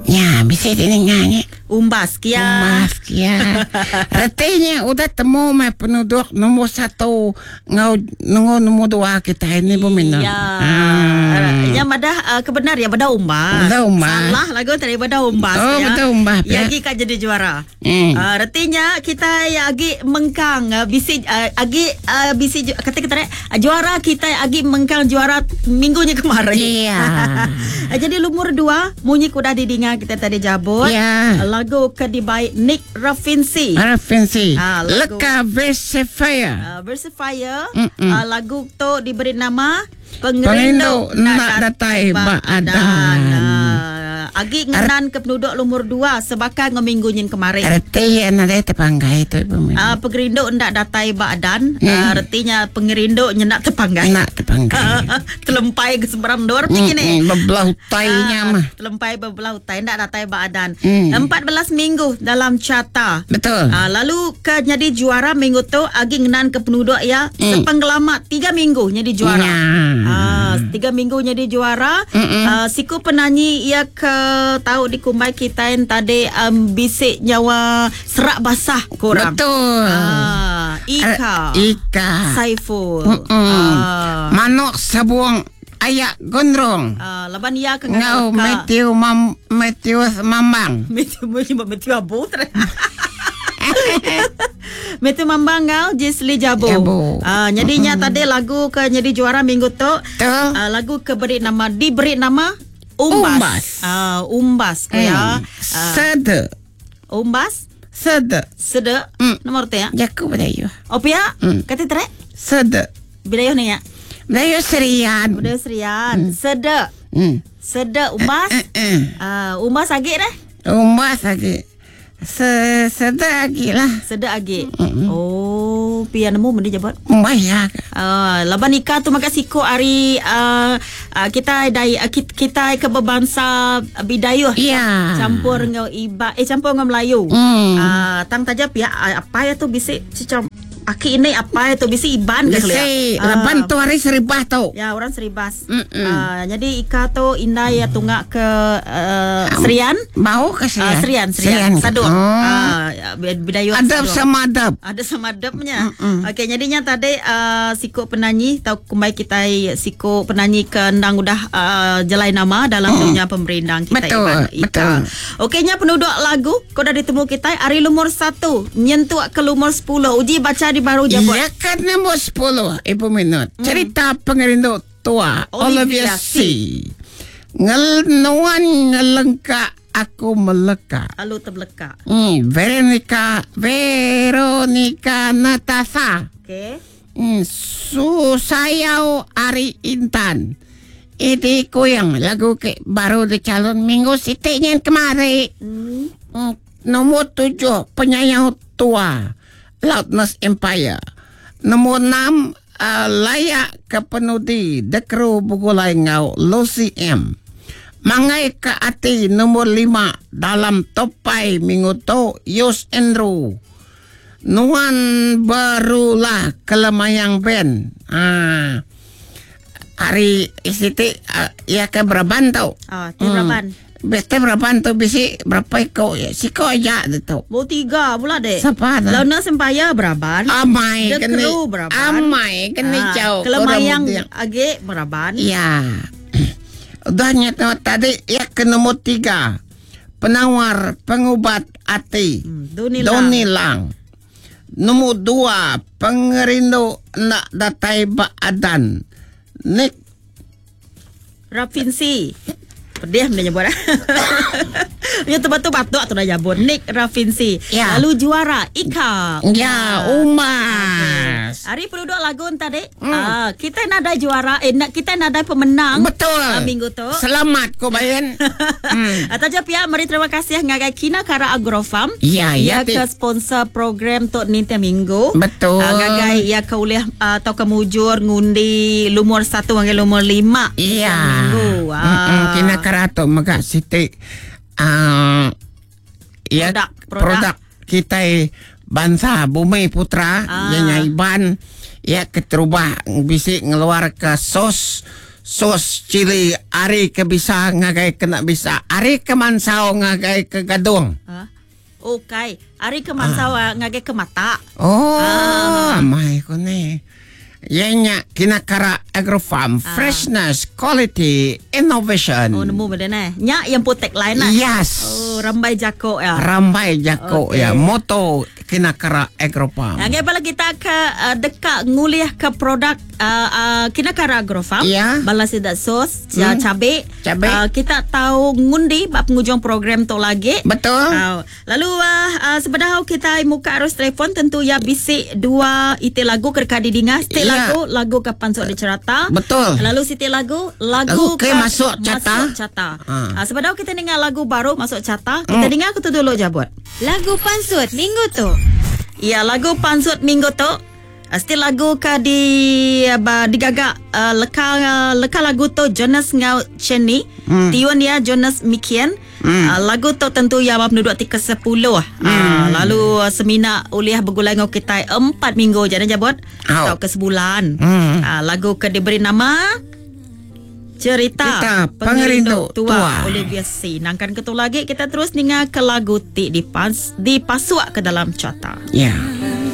Nya bisi ti ninga nya. Umbas kia. Umbas kia. Reti nya udah temu meh penuduk nombor satu enggau nunggu nombor dua kitai ni pun minum. Ya. Nya madah uh, kebenar ya beda umbas. Beda umbas. Salah lagu tadi beda umbas oh, ya. Beda umbas. Ya agi ka jadi juara. Mm. Uh, retinya kita ya agi mengkang uh, bisi uh, agi uh, bisi kata kita uh, juara kita agi mengkang juara minggunya kemarin. Iya. Uh, jadi lumur dua munyi kuda didinga kita tadi jabut. Ya. Lagu ke dibai Nick Rafinsi. Rafinsi. Ah, lagu- Leka Versifier. Versifier. Uh, lagu tu diberi nama Pengerindu Pengerindu Nak Datai Ba Adan. Ah, agi ngenan ke penduduk lumur dua sebaka dengan minggu nyin kemarin. Reti ya nadai tepanggai tu ibu Mina. Pengerindu ndak datai ba adan. Retinya pengerindu nya ndak tepanggai. Nak tepanggai. Telempai ke seberang dor macam ni. Bebelah utainya mah. Telempai bebelah utai ndak datai ba adan. 14 minggu dalam carta. Betul. Lalu ke jadi juara minggu tu agi ngenan ke penduduk ya sepenggelama 3 minggu jadi juara. Ya. 3 minggu jadi juara. Siku penanyi ia ke tahu di kumbai kita yang tadi bisik nyawa serak basah korang. Betul. Ika. Ika. Saiful. Manuk sabuang ayak gondrong. Laban ia ke Ngau Matthew Mam Matthew Mambang. Matthew Matthew Abu. Matthew Mambang ngau Jesli Jabu. Jabu. Jadinya tadi lagu ke jadi juara minggu tu. Lagu ke beri nama diberi nama Umbas. Umbas. Umbas ke ya. Sede. Umbas. Sede. Sede. Nomor te ya. Jaku Bidayuh. Oh pia? Kata tere? Sede. Bidayuh ni ya. Bidayuh Serian. Bidayuh Serian. Sede. Sede umbas. Umbas agi dah. Umbas agi. Sede agi lah. Sede agi. Oh, pia nemu benda jabat. Umbas ya. Laban Ika tu maka siko ari kita dai kita ke berbangsa Bidayuh. Ya. Campur dengan Iba, campur dengan Melayu. Tang taja pia apa ya tu bisik cicam aki ini apa itu bisi Iban ke Bisi laban tu hari Seribas tu. Ya, orang Seribas. Jadi Ika tu indah ya tunggak ke Serian. Bau ke Serian? Serian, Serian. Saduk. Bidayuh Adab sama adab. Ada sama adabnya. Okey, jadinya tadi siko penyanyi tau kumbai kita siko penyanyi ke endang udah jelai nama dalam dunia pemerindang kita. Betul, Iban, Ika. Betul. Okey, nya penduduk lagu kau dah ditemu kita hari lumur 1 nyentuk ke lumur 10. Uji baca di baru jabut. Ya kan nombor 10 Ibu Minut. Cerita pengerindu tua Olivia Olivia C. Ngelnuan ngelengka aku meleka. Alu terbeleka. Veronica Veronica Natasha. Okey. Susayau Ari Intan. Ini kuyang lagu ke baru dicalon minggu sitiknya kemari. Nombor 7 penyayang tua Loudness Empire. Nombor 6 layak ke penudi The Crew Bugulai Ngau Lucy M. Mangai ke ati nombor 5 dalam topai minggu tu Yus Andrew. Nuan barulah kelemayang band. Hari isiti ya ke beraban tau. Ti beraban. Bete beraban tu bisi berapa iko ya? Siko aja tu. Bo 3 pula dek. Siapa dah? Launa Sempaya beraban. Amai The kena. Crew beraban. Amai kena jauh. Kelemayang age beraban. Ya. Udah nyata tadi ya ke nombor 3. Penawar pengubat ati. Doni Lang. Doni Lang. Nombor 2 pengerindu nak datai baadan. Nick Rafinsi. Pedih benda nyebut. Ya tu batu-batu tu dah jabut. Nick Rafinsi. Ya. Lalu juara Ika. Ya, Umas. Hari penduduk lagu tadi. Kita nadai juara, kita nadai pemenang. Betul. Minggu tu. Selamat ko bayan. Taja pihak meri terima kasih ngagai Kina Kara Agrofarm. Ya, ya, Ya ke sponsor program tok ninti minggu. Betul. Ngagai ya ke ulih atau ke mujur ngundi lumur 1 hingga lumur 5. Ya. Minggu. Kina Kara tu mega siti ya, Produk, produk kita bangsa Bumi Putra ya Iban ya keterubah bisi ngeluar ke sos. Sos cili ari ke bisa ngagai kena bisa. Ari ke mansau ngagai ke gadung. Ha? Ukai. Ari ke mansau ah. ngagai ke mata. Oh, ah. amai ko ni. Iya nya Kinakara Agrofarm ah. Freshness Quality Innovation. Oh nemu benda ne. Nya yang pun tagline lah. Yes. Oh rambai jako ya. Rambai jako okay. ya. Moto Kinakara Agrofarm. Ngagai bala kita ke uh, deka ngulih ke produk uh, uh, Kinakara Agrofarm. Ya. Bala sida sos, hmm. cabe. Cabe. Uh, kita tahu ngundi ba penghujung program tu lagi. Betul. Uh, Lalu uh, uh, sebedau kita muka arus telefon tentu ya bisi dua iti lagu ke deka didinga. Siti Ya. lagu lagu ke pansut di cerata. Betul. Lalu siti lagu lagu Lagu ke masuk carta. Masuk carta. Ha. Uh, sebedau kita dengar lagu baru masuk carta, kita hmm. dengar aku tu dulu je buat. Lagu pansut minggu tu. Ya, lagu pansut minggu tu. Uh, still lagu ke di uh, digagak uh, leka uh, leka lagu tu Jonas ngau Chenny, mm. tiun dia Jonas Mikian. Mm. Uh, lagu tu tentu ya bab penduduk ti ke-10. Mm. Uh, lalu uh, semina uliah begulai ngau kita 4 minggu je dah jabut Au. atau ke sebulan. Mm. Uh, lagu ke diberi nama Cerita, Cerita Pengerindu Tua, Tua. Olivia C. Nangkan ketu lagi kita terus ninga ke lagu ti dipas dipasuk ke dalam carta. Ya.